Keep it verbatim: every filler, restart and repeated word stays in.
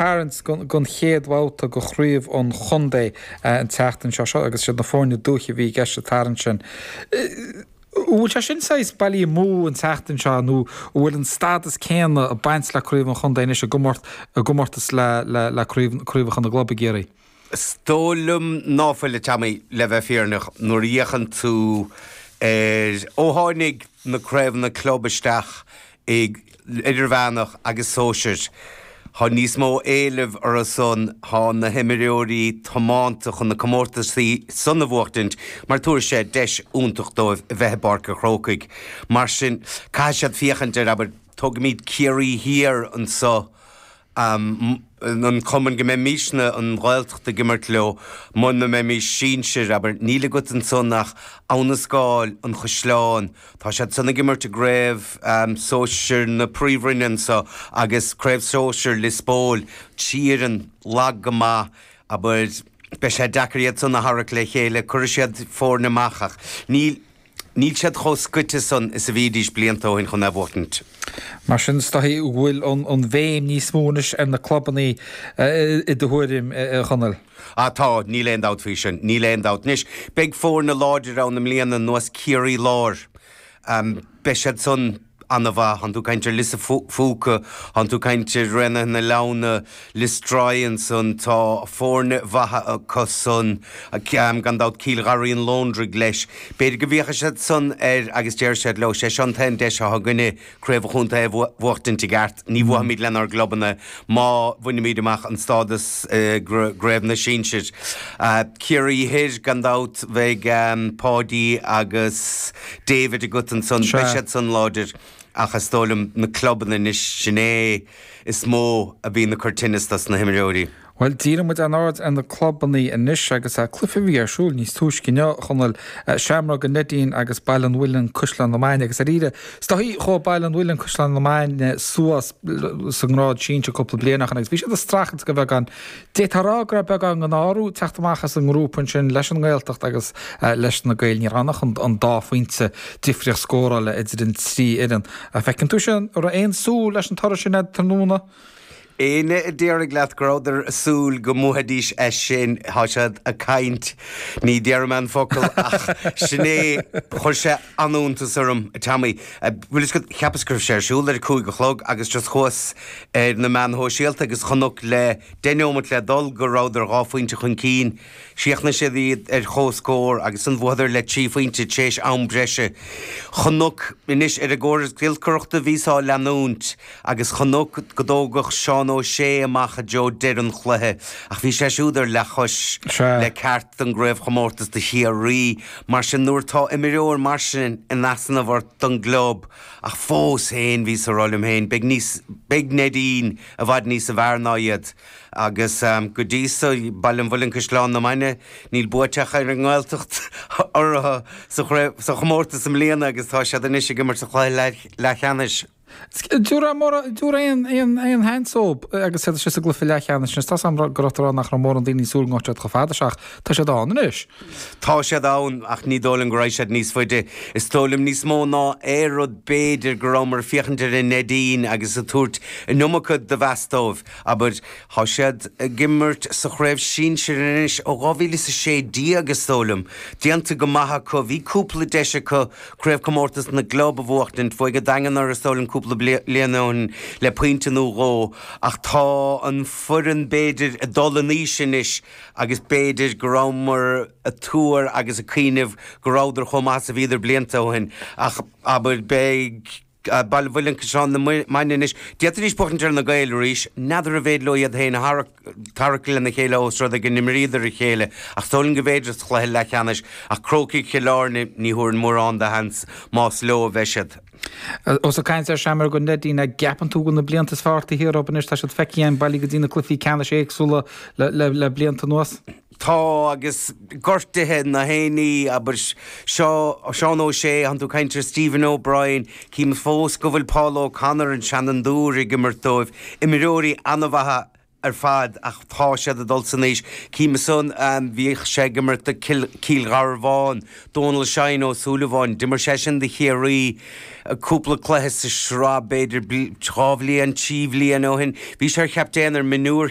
Tarraingt don chéad bhabhta de chraobh an chontae an tseachtain seo seo agus siad na foirne dúiche a bhí i gceist sa tarraingt sin. An bhfuil sé sin saghas bailí amú an tseachtain seo nó an bhfuil an stádas céanna ag baint le craobh an chontae anois i gcomórtas le le craobh craobhacha na gclub i gCiarraí? Is dóigh liom ná fuil, a Tommy, le bheith fírinneach, nuair a fhéachann tú ar ó tháinig na craobhanna club isteach i idirmheánach agus sóisir. Tá níos mó éilimh orthu san, tá na himreoirí tiomanta chun na comórtasaí san a bhuachtaint mar tabharfaidh sé deis iontach dóibh a bheith i bPáirc an Chrócaigh. Mar sin, caithfidh siad féachaint ar, abair, tógaimid Ciarraí Thiar anso, an cumann go mbeimisne, an Ghaeltacht, ag imirt leo, muna mbeimis sinsir, abair, níl agat ansan ach Abha na Scáil, An Chaisleán, tá siad san ag imirt i gcraobh sóisir na Príomhroinne anso agus craobh sóisir Lios Póil, trí fhoireann lag go maith, abair, beidh sé deacair iad san a tharrac le chéile, cuirfidh siad foirne amach ach níl. Níl siad chomh scoite san is a bhídís blianta ó shin chun é a bhuachtaint. Mar sin, is dóichí go bhfuil an bhéim níos mó anois ar na clubanna i do thuairim, a Chonaill? Ah tá, níl aon dabht faoi sin, níl aon dabht. Anois, beidh foirne láidir ann i mbliana, nós Ciarraí Láir. Beidh siad san an-mhaith. Tánn tú ag caint ar Lios a' Phúca, tánn tú ag caint ar Raonaithe na Leamhna, Lios Droighne ansan, tá foirne mhaithe acu san, gan dabht Cill Gharraí an Lóndraigh leis. B'fhéidir go bhféachfaidh siad san air agus déarfaidh siad leo, sé seo an t-aon deis atá againne craobh an chontae a bhuachtaint i gceart, ní bhuafaimid lenár gclubanna má bhainimid amach an stádas i gcraobh na sinsir. Ciarraí Thoir, gan dabht, bheidh Páidí agus David agat ansan, beidh siad san láidir ach is dóigh liom na clubanna anois, sin é is mó a bhíonn ag cur tinneas dos na himreoirí. Bhuel, díreoidh muid ár n-aird ar na clubanna anois agus cluiche a bhí ar siúl níos túisce inniu, a Chonaill, Seamróg an Neidín agus Baile an Mhuilinn, Caisleán na Mainge agus dáiríre, is dóichí chuaigh Baile an Mhuilinn, Caisleán na Mainge suas sa ngrád sinsir cúpla bliain ó shin agus bhí siad ag streachailt de bheagán. D'fhéadfá a rá go raibh beagán den ádh orthu teacht amach as an ngrúpa ansin leis an nGaeltacht agus leis na Gaeil. Ní raibh ann ach an dá phointe difríocht scórála idir an trí fhoireann. An bhfeiceann tú sin? An raibh aon súil leis an toradh sin agat tráthnóna? Éinne a déarfaidh leat go rabhadar ag súil go mbuafaidís é sin, tá siad ag caint, ní déarfaidh mé an focal ach sin é, chuir sé an-iontas orm, a Tommy. Bhfuil fhios agat, cheapas go raibh sé ar siúl ar a cúig a chlog agus just chuas ar na meáin shóisialta agus chonac le deich neomat le dul go rabhadar dhá phointe chun cinn. Chríochnaigh siad iad ar chomhscór agus ansan bhuadar le trí phointe tar éis am breise. Chonac anois ar an gcóras giolcaireachta bhíos á leanúint agus chonac go dtógadh Seán Ó Sé amach i dtreo deireadh an chluiche ach bhí sé siúd ar leathchois le ceart don gcraobhchomórtas do Chiarraí. Mar sin nuair atá imreoir mar sin in easnamh ort don gclub ach fós féin bhíos ag rá liom féin beidh níos beidh Neidín i bhfad níosa bhfearr ná iad. Agus go dtí so, Baile an Mhuilinn Caisleán na Mainge, níl buaite acu ar an nGaeltacht orthu sa chraobh, sa chomórtas i mbliana agus tá siad anois ag imirt sa chluiche leathcheannais. Dúradh aon aon sheans dóibh agus iad istigh sa gcluiche leathcheannais anois. Tá 's agam go raibh tú ag rá nach raibh mórán daoine ag súil go ngabhfadh siad chomh fada seo ach tá siad ann anois. Tá siad ann ach ní dóigh liom go raghaidh siad níos faide. Is dóigh liom níos mó ná aon rud b'fhéidir go rabhamar ag féachaint ar an Neidín agus ag tabhairt an iomarca de mheas dóibh. Abair, tá siad ag imirt sa chraobh sinsir anois ó dhá mhíle is a sé déag is dóigh liom. Déanta go maith acu. Bhí cúpla deis acu craobhchomórtas na gclub a bhuachtaint. Bhuaigh an Daingean orthu is dóigh liom cúpla bliain ó shin le pointe nó dhó ach tá an foireann b'fhéidir ag dul in aois anois agus b'fhéidir go rabhamar ag tuar agus ag cuimhneamh go rabhadar chomh maith is a bhíodar blianta ó shin ach abair beidh Baile an Mhuilinn Caisleán na Mainge anois. D'fhéadfaidís buachaint ar na Gaeil arís. N'fheadar an bhféidir leo iad féin a tharrac lena chéile ós rud é go n-imríodar a chéile ach is dóigh liom go bhféidir sa chluiche leathcheannais ach Crócaigh Chill Airne ní thabharfainn mórán de sheans más leo a bheidh siad. Ós ag caint ar Seamróg an Neidín, an gceapann tú go bhfuil na blianta is fearr taobh thiar dóibh anois? Tá siad feicthe againn bailithe go dtí na cluichí ceannais éagsúla le blianta anuas. Tá, agus gortuithe na héinní, abair, seo Seán Ó Sé, tánn tú ag caint ar Stephen O'Brien, cím fós go bhfuil Paul O'Connor, an seanfhondúir, ag imirt dóibh, imreoirí an-mhaithe ar fad ach tá siad ag dul san aois. Cím ansan bhíodh sé ag imirt do Cill Gharbháin, Dónal Shine Ó Súilleabháin, d'imir seisean do Chiarraí cúpla cluiche sa sraith b'fhéidir dhá bhliain, trí bhliain ó shin. Bhí sé ar chaptaen ar mionúir